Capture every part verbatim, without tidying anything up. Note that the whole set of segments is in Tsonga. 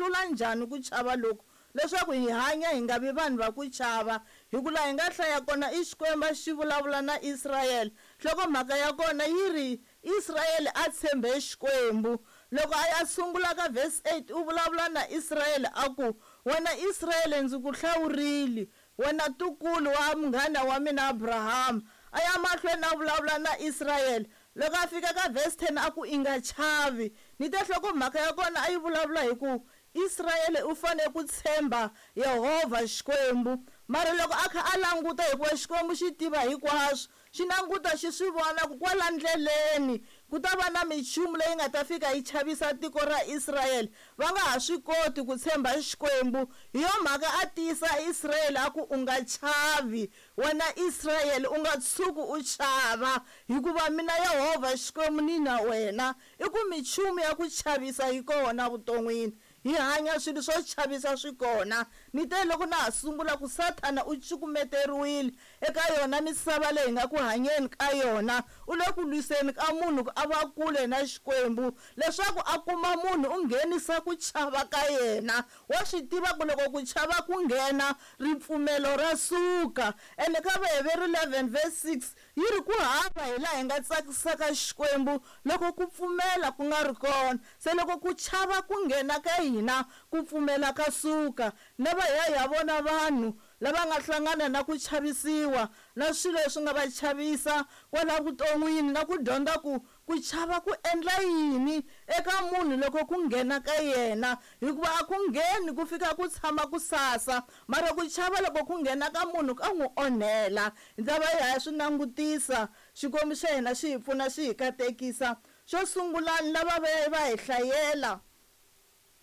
hlula njhani ku chava loku leswaku hi hanya hi nga vi vanhu va ku chava. Hi ku laha hi nga hlaya kona i Xikwembu xi vulavula na Israyele, nhlokomhaka ya kona yi ri Israyele a tshembe Xikwembu. Loko a ya sungula ka verse eight u vulavula na Israyele a ku, wena Israyele ndzi ku hlawurile, wena ntukulu wa munghana wa mina Abraham. A ya mahlweni a vulavula na Israyele. Loko a fika ka verse ten a ku i nga chavi. Ni te nhlokomhaka ya kona a yi vulavula hi ku Israyele u fanele ku tshemba Yehovha Xikwembu. Mara loko a kha a languta, hikuva Xikwembu xi tiva hinkwaswo, xi languta xi swi vona ku kwala ndleleni ku ta va na minchumu leyi nga ta fika yi chavisa tiko ra Israyele, va nga ha swi koti ku tshemba Xikwembu. Hi yo mhaka a tiyisa Israyele a ku u nga chavi, wena Israyele u nga tshuki u chava, hikuva mina Yehovha Xikwembu ni na wena. I ku minchumu ya ku chavisa yi kona vuton'wini, hi hanya swilo swo chavisa swi kona. Ni te loko na ha sungula ku Sathana u cukumeteriwile eka yona misava leyi hi nga ku hanyeni ka yona, u le ku lwiseni ka munhu ku a va kule na Xikwembu, leswaku a kuma munhu u nghenisa ku chava ka yena. Wa swi tiva ku loko ku chava ku nghena, ripfumelo ra suka. Ene ka Vaheveru eleven verse six yi ri ku hava hi laha hi nga tsakisaka Xikwembu loko ku pfumela ku nga ri kona. Se loko ku chava ku nghena ka hina, ku pfumela ka suka. Na va ya ya vona vanhu lava nga hlangana na ku chavisiwa na swilo leswi nga va chavisa kwala vuton'wini, na ku dyondza ku ku chava ku endla yini eka munhu loko ku nghena ka yena, hikuva a ku ngheni ku fika ku tshama ku sasa, mara ku chava loko ku nghena ka munhu ka n'wi onhela. Hi ta va hi ya swi langutisa, Xikwembu xa hina xi hi pfuna xi hi katekisa. Xo sungula ni lava va va hi hlayela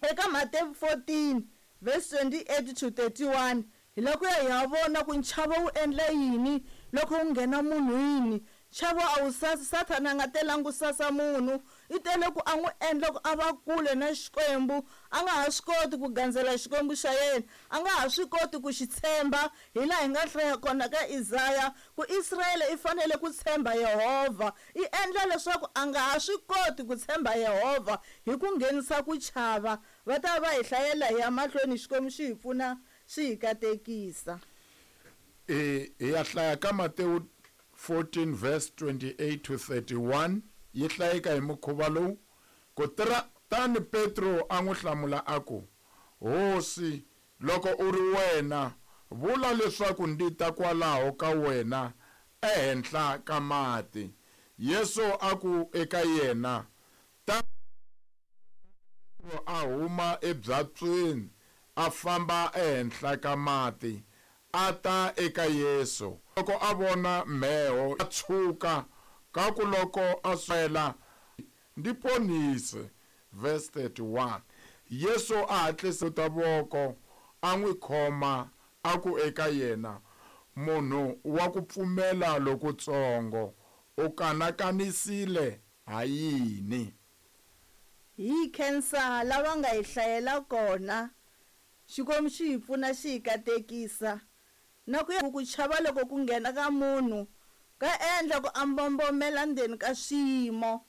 eka Matewu fourteen verse twenty-eight to thirty-one, hi lava ku ya hi ya vona ku nchavo wu endla yini loko wu nghena munhwini. Nchavo a wu sasi, Sathana a nga telangi ku sasa munhu, i tele ku a n'wi endla ku a va kule na Xikwembu, a nga ha swi koti ku gandzela Xikwembu xa yena, a nga ha swi koti ku xi tshemba. Hi laha hi nga hlaya kona ka Isaya ku Israyele i fanele ku tshemba Yehovha, i endla leswaku a nga ha swi koti ku tshemba Yehovha hi ku nghenisa ku chava. Va ta va hi hlayela hi ya mahlweni, Xikwembu xi hi pfuna xi hi katekisa. E, hi ya hlaya ka Matewu fourteen verse twenty-eight to thirty-one, yi hlayeka hi mukhuva lowu. Kutani Petro a n'wi hlamula a ku, Hosi, loko u ri wena, vula leswaku ndi ta kwalaho ka wena ehenhla ka mati. Yesu a ku eka yena, ta. Petro a huma ebyatsweni a famba ehenhla ka mati a ta eka Yesu. Loko a vona mheho a tshuka, kaku loko a swela, ndi ponise. Verse thirty-one, Yesu a hatlisa ta voko a n'wi khoma a ku eka yena, munhu wa ku pfumela lokutsongo, u kanakanisile ha yini? Hi khensa lava nga hi hlayela kona. Xikwembu xi hi pfuna xi hi katekisa. Na ku ya ku chava loko ku nghena ka munhu ka endla ku a mbombomela ndzeni ka swiyimo,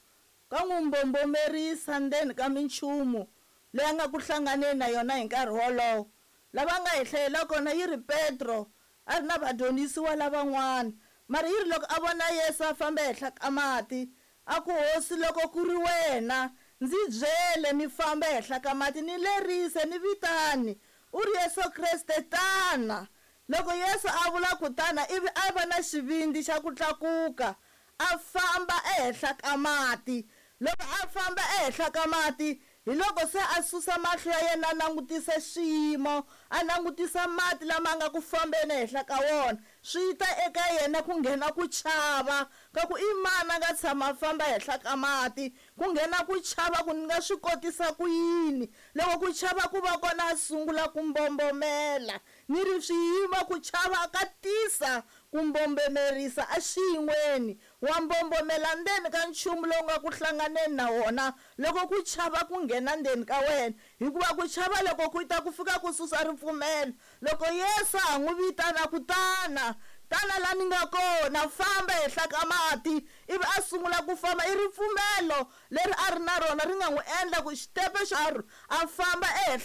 ka n'wi mbombomerisa ndzeni ka minchumu leyi a nga ku hlanganeni na yona hi nkarhi wolowo. Lava nga hi hlayela kona yi ri Petro a ri na vadyondzisiwa lavan'wana, mara yi ri loko a vona Yesu a famba ehenhla ka mati, a ku, Hosi, loko ku ri wena, ndzi byele ni famba ehenhla ka mati, ni lerise, ni vitani. U ri Yesu Kreste, tana. Loko Yesu a vula ku tana, ivi a va na xivindzi xa ku tlakuka a famba ehenhla ka mati. Loko a famba ehenhla ka mati, hi loko se a susa mahlo ya yena a langutisa xiyimo, a langutisa mati lama nga ku fambeni ehenhla ka wona, swi ta eka yena ku nghena ku chava ka ku i mani a nga tshama a famba ehenhla ka mati, ku nghena ku chava ku ni nga swi kotisa ku yini. Loko ku chava ku va kona a sungula ku mbombomela, ni ri swiyimo ku chava ka tisa ku mbombomerisa exiyin'weni, wa mbombomela ndzeni ka nchumu lowu nga ku hlanganeni na wona loko ku chava ku nghena ndzeni ka wena, hikuva ku chava loko ku ta ku fika ku susa ripfumelo. Loko Yesu a n'wi vitana ku tana, tana la ni nga kona, famba ehenhla ka mati, ivi a sungula ku famba, i ripfumelo leri a ri na rona ri nga n'wi endla ku xitepe xa a famba ehenhla